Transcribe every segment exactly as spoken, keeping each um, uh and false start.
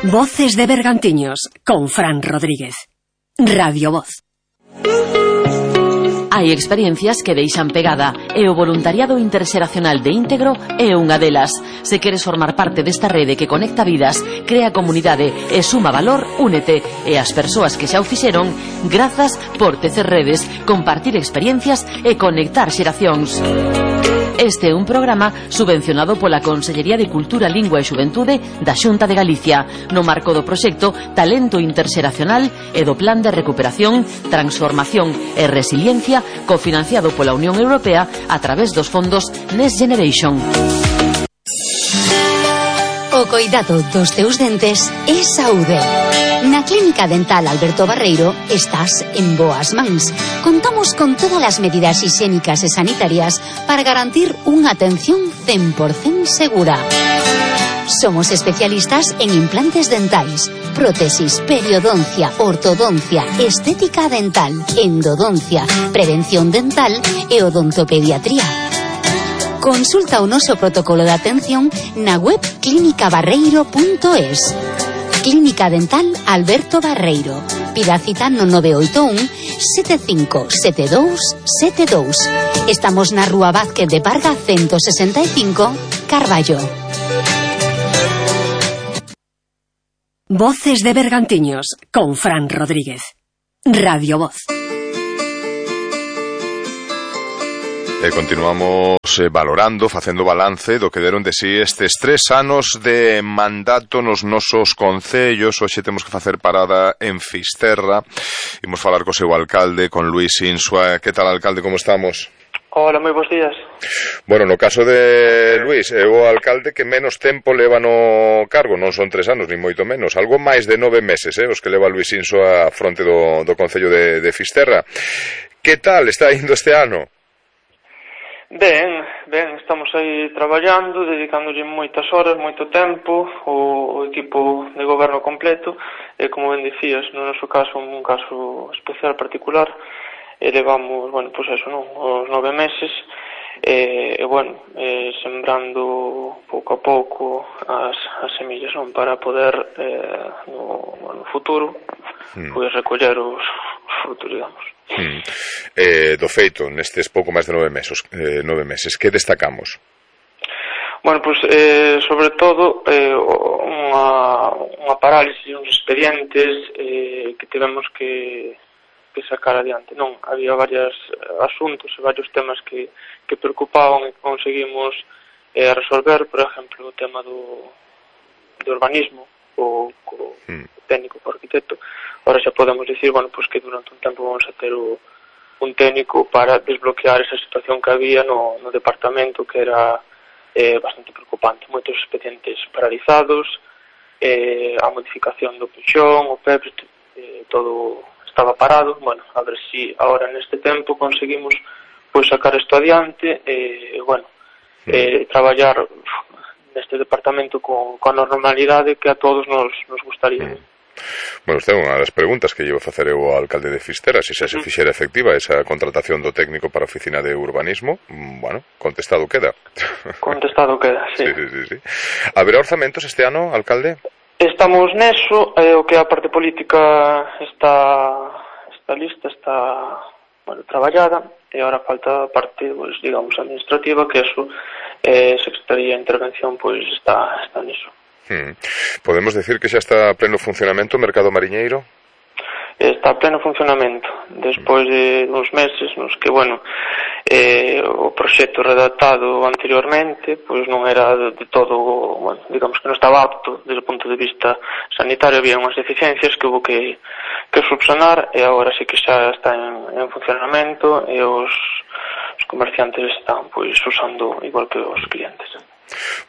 Voces de Bergantiños, con Fran Rodríguez. Radio Voz. Hai experiencias que deixan pegada e o voluntariado interxeracional de Íntegro é unha delas. Se queres formar parte desta rede que conecta vidas, crea comunidade e suma valor, únete. E as persoas que xa o fixeron, grazas por tecer redes, compartir experiencias e conectar xeracións. Este é un programa subvencionado pola Consellería de Cultura, Lingua e Xuventude da Xunta de Galicia, no marco do proxecto Talento Interxeracional e do Plan de Recuperación, Transformación e Resiliencia, cofinanciado pola Unión Europea a través dos fondos Next Generation. O coidado dos teus dentes é saúde. Na Clínica Dental Alberto Barreiro estás en boas mans. Contamos con todas as medidas higiénicas e sanitarias para garantir unha atención cen por cento segura. Somos especialistas en implantes dentais, prótesis, periodoncia, ortodoncia, estética dental, endodoncia, prevención dental e odontopediatría. Consulta o noso protocolo de atención na web clínica barreiro punto es. Clínica Dental Alberto Barreiro. Pida cita no nove oito un, sete cinco sete dous sete dous. Estamos na Rúa Vázquez de Parga ciento sesenta e cinco, Carballo. Voces de Bergantiños, con Fran Rodríguez. Radio Voz. E continuamos eh, valorando, facendo balance do que deron de si estes tres anos de mandato nos nosos concellos. Hoxe temos que facer parada en Fisterra. Imos falar co seu alcalde, con Luís Insua. Que tal, alcalde, como estamos? Hola, moi bons días. Bueno, no caso de Luís, é o alcalde que menos tempo leva no cargo, non son tres anos, ni moito menos, algo máis de nove meses, eh, os que leva Luís Insua a fronte do, do concello de, de Fisterra. Que tal está indo este ano? Ben, ben, estamos aí traballando, dedicándolle moitas horas, moito tempo, o, o equipo de goberno completo, e como ben dicías, no noso caso, un caso especial, particular, e levamos, bueno, pois eso, non, os nove meses, e, e bueno, e, sembrando pouco a pouco as, as semillas, non, para poder, eh, no, no futuro, hmm. pois recoller os, os frutos, digamos. Hmm. Eh, do feito, nestes pouco máis de nove meses, eh, nove meses, que destacamos? Bueno, pois, eh, sobre todo, eh, unha, unha parálisis, uns expedientes eh, que tivemos que, que sacar adiante. Non, había varios asuntos e varios temas que, que preocupaban e que conseguimos eh, resolver, por exemplo, o tema do, do urbanismo, o, o hmm. técnico, o arquitecto. Ahora xa podemos dicir, bueno, pues que durante un tempo vamos a ter o, un técnico para desbloquear esa situación que había no, no departamento, que era eh, bastante preocupante. Moitos expedientes paralizados, eh, a modificación do puxón, o P E P, eh, todo estaba parado. Bueno, a ver si ahora neste tempo conseguimos pois sacar isto adiante e, eh, bueno, eh, traballar neste departamento con, con a normalidade que a todos nos, nos gustaría. Bueno, esta é unha das preguntas que llevo a facer eu ao alcalde de Fisterra, se xa se fixera efectiva esa contratación do técnico para a oficina de urbanismo. Bueno, contestado queda. Contestado queda, sí. Sí, sí, sí, sí. Haberá orzamentos este ano, alcalde? Estamos neso, eh, o que a parte política está, está lista, está, bueno, traballada, e agora falta a parte, pues, digamos, administrativa, que eso, eh, Secretaría de Intervención, pois, pues, está, está niso. Hmm. Podemos decir que xa está a pleno funcionamento o mercado mariñeiro? Está a pleno funcionamento, despois de uns meses nos que, bueno, eh, o proxecto redactado anteriormente pois non era de, de todo, bueno, digamos que non estaba apto desde o punto de vista sanitario, había unhas deficiencias que houve que, que subsanar, e agora sí que xa está en, en funcionamento, e os, os comerciantes están pois usando igual que os clientes.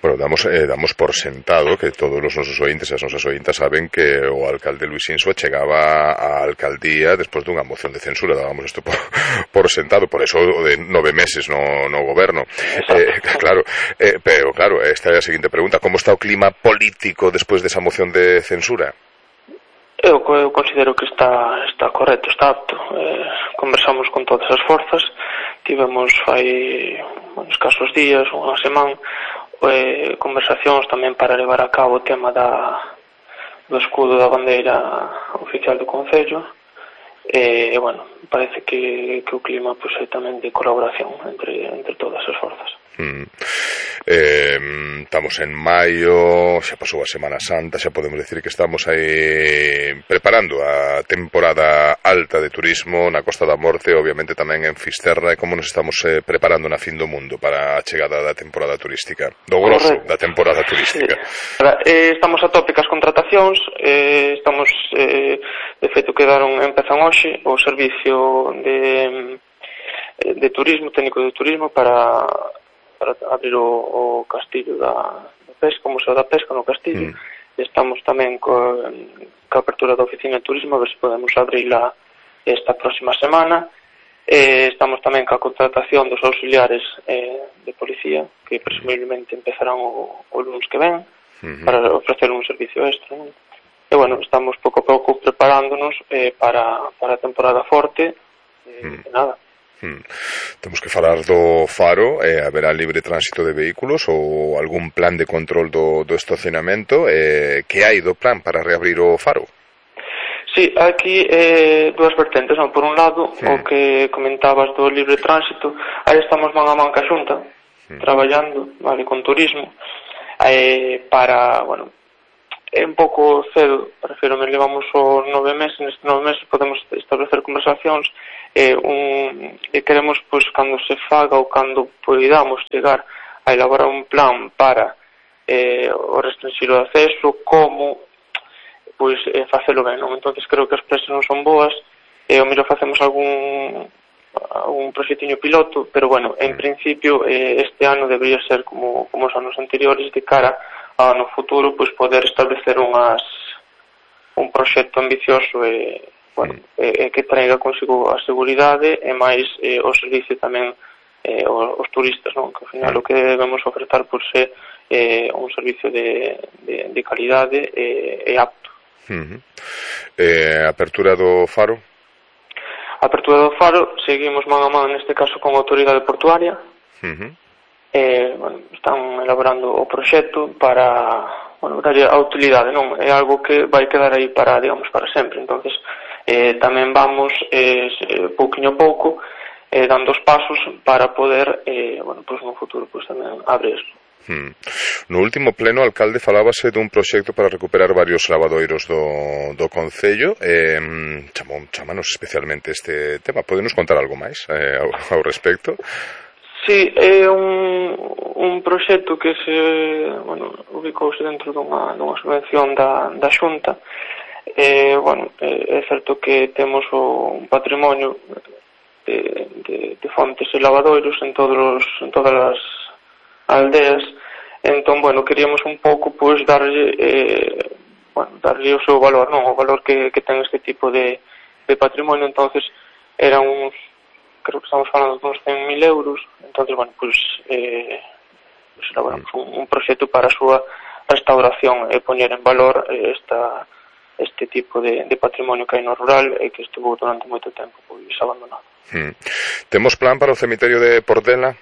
Bueno, damos, eh, damos por sentado que todos os nosos ointes e as nosas ointas saben que o alcalde Luís Insua chegaba á alcaldía despois dunha moción de censura, dábamos isto por, por sentado, por eso de nove meses no, no goberno. Eh, claro, eh, pero claro, esta é a seguinte pregunta: como está o clima político despois desa moción de censura? Eu, eu considero que está, está correcto, está apto. Eh, conversamos con todas as forzas, tivemos fai bueno, escasos días, unha semana, eh, conversacións tamén para levar a cabo o tema da, do escudo da bandeira oficial do Concello. E, bueno, parece que, que o clima pues, é tamén de colaboración entre, entre todas as forzas. Mm. Eh, estamos en maio, xa pasou a Semana Santa, xa podemos decir que estamos aí preparando a temporada alta de turismo na Costa da Morte, obviamente tamén en Fisterra. E como nos estamos eh, preparando na fin do mundo para a chegada da temporada turística, do grosso Correcto. Da temporada turística? Sí. Eh, estamos a tope cas contratacións, eh, estamos eh, de feito quedaron, empezan hoxe o servicio de, de turismo, técnico de turismo para para abrir o, o castillo da, da pesca, o Museo da Pesca no castillo. Mm. Estamos tamén co, co apertura da oficina de turismo, a ver se podemos abrirla esta próxima semana. Eh, estamos tamén ca contratación dos auxiliares eh, de policía, que presumiblemente empezarán o, o lunes que ven, mm-hmm. para ofrecer un servicio extra, non? E, bueno, estamos pouco a pouco preparándonos eh, para, para a temporada forte, eh, mm. e nada. Hmm. Temos que falar do Faro. Eh, haberá libre tránsito de vehículos ou algún plan de control do, do estacionamento? Eh, que hai do plan para reabrir o Faro? Sí, aquí eh, dúas vertentes, non? Por un lado, hmm. o que comentabas do libre tránsito, aí estamos man a man ca Xunta, hmm. traballando, vale, con turismo, eh, para, bueno, é un pouco cedo, prefiro me levamos os nove meses, nestes nove meses podemos establecer conversacións, e, un, e queremos, pois, cando se faga ou cando podamos chegar a elaborar un plan para eh, o restringir o acceso, como, pois, eh, facelo ben, non? Entonces creo que as presas non son boas, e o mellor facemos algún un proxectiño piloto, pero, bueno, en principio eh, este ano debería ser como, como os anos anteriores, de cara a no futuro, pois, poder establecer unhas un proxecto ambicioso e, bueno, e, e que traiga consigo a seguridade e máis eh, o servicio tamén eh, os, os turistas, non? Que ao final o que debemos ofertar por ser eh, un servicio de, de, de calidade e, e apto. Uh-huh. eh, Apertura do Faro? Apertura do Faro, seguimos man a man neste caso con a autoridade portuaria. Uh-huh. eh, bueno, están elaborando o proxecto para, bueno, darlle a utilidade, non? É algo que vai quedar aí para, digamos, para sempre. Entonces eh, tamén vamos eh, pouquinho a pouco eh, dando os pasos para poder eh, bueno, pues no futuro pues tamén abrir. Hmm. No último pleno, alcalde, falábase dun proxecto para recuperar varios lavadoiros do, do Concello. eh, chamou, chamanos especialmente este tema. Podenos contar algo máis eh, ao, ao respecto? Sí, é un, un proxecto que se, bueno, ubicouse dentro dunha, dunha subvención da, da Xunta. Eh, bueno, é certo que temos o, un patrimonio de, de, de fontes e lavadoiros en, todos os, en todas as aldeas. Entón, bueno, queríamos un pouco, pois, darlle, eh, bueno, darlle o seu valor, non? O valor que, que ten este tipo de, de patrimonio. Entonces, eran uns, creo que estamos falando de uns cen mil euros. Entonces, bueno, pois, eh, pues elaboramos un, un proxecto para a súa restauración e poñer en valor eh, esta este tipo de, de patrimonio que hai no rural e que estuvo durante moito tempo pois abandonado. Hmm. Temos plan para o cemiterio de Portela?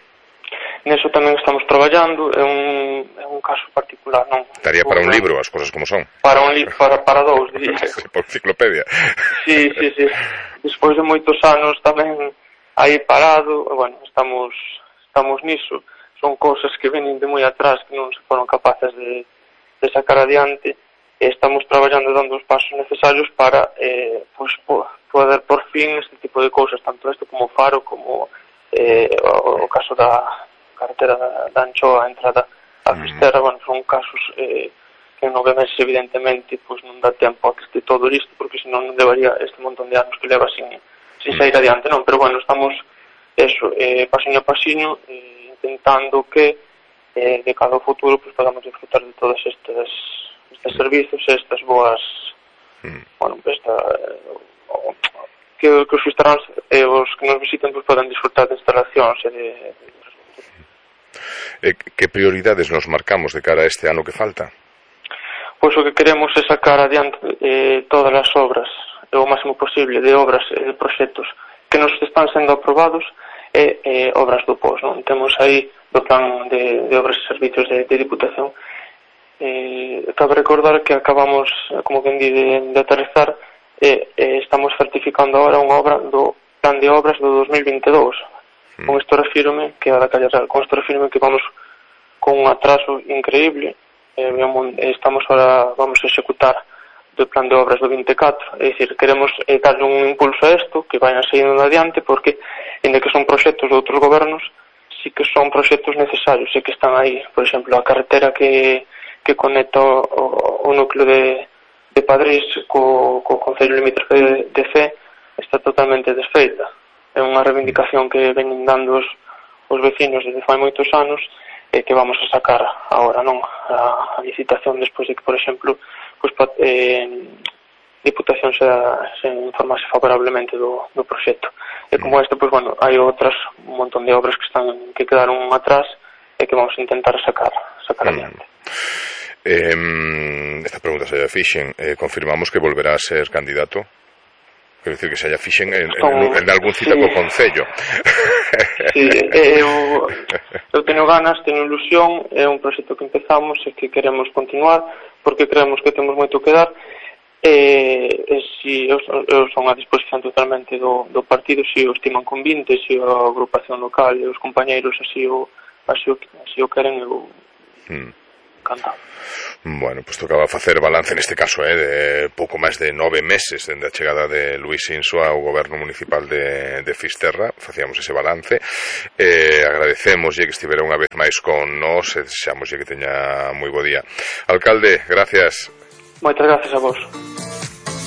Neso tamén estamos traballando, é un, é un caso particular, non? Estaría para un libro, as cosas como son. Para un li para, para dous, diría. Por enciclopedia. Sí, sí, sí. Despois de moitos anos tamén aí parado, bueno, estamos estamos niso. Son cousas que venen de moi atrás que non se foron capaces de, de sacar adiante. Estamos traballando dando os pasos necesarios para eh, pues, poder por fin este tipo de cousas, tanto este como o Faro, como eh, o, o caso da carretera da, da Anchoa, a entrada a Fisterra. Bueno, son casos eh, que en nove meses evidentemente pues, non dá tempo a que este todo listo, porque senón non levaría este montón de anos que leva sin, sin sair adiante, non? Pero bueno, estamos eso, eh, pasiño a pasiño, eh, intentando que eh, de cada futuro pues, podamos disfrutar de todas estas estes servizos, estas boas mm. bueno, esta eh, que, que os fisterráns e eh, os que nos visiten pues, poden disfrutar de instalacións e de, de... Eh, que prioridades nos marcamos de cara a este ano que falta? Pois o que queremos é sacar adiante eh, todas as obras o máximo posible de obras e de proxectos que nos están sendo aprobados e eh, obras do pos, non? Temos aí do plan de, de obras e servicios de, de Diputación. eh, cabe recordar que acabamos, como quen di, de, de aterrizar e eh, eh, estamos certificando agora unha obra do plan de obras do dos mil vinte e dous. Mm. Con isto refírome que a da Calle Real, con isto refírome que vamos con un atraso increíble. Eh, estamos ahora, vamos a executar do plan de obras do vinte e catro, é dicir, queremos eh, darle un impulso a isto, que vayan seguindo adiante, porque, ainda que son proxectos de outros gobernos, sí que son proxectos necesarios, e que están aí. Por exemplo, a carretera que, que conecta o, o núcleo de, de Padrís co, co Concello Limítrofe de, de Cee está totalmente desfeita. É unha reivindicación que veñen dando os, os vecinos desde fai moitos anos, e que vamos a sacar agora, non? A, a licitación despois de que, por exemplo, pues, eh, Diputación se, se informase favorablemente do, do proxecto. E como este, pues, bueno, hai outras, un montón de obras que están que quedaron atrás e que vamos a intentar sacar, sacar mm. adiante. Eh, esta pregunta se lla fixen. Eh, confirmamos que volverá a ser candidato? Quero dicir que se lla fixen en, en, en algún cita sí. co Concello. Sí, eu, eu teño ganas, teño ilusión, é un proxecto que empezamos e que queremos continuar, porque creemos que temos moito que dar, e, e si eu, eu son a disposición totalmente do, do partido, se si o estiman convinte, se si a agrupación local e os compañeiros así o, así o, así o queren, eu hmm. encantado. Bueno, pois pues tocaba facer balance neste caso, eh, de pouco máis de nove meses dende a chegada de Luís Insua ao goberno municipal de, de Fisterra. Facíamos ese balance, eh, agradecemoslle que estivera unha vez máis con nós e desexamoslle que teña moi bo día. Alcalde, gracias. Moitas gracias a vos.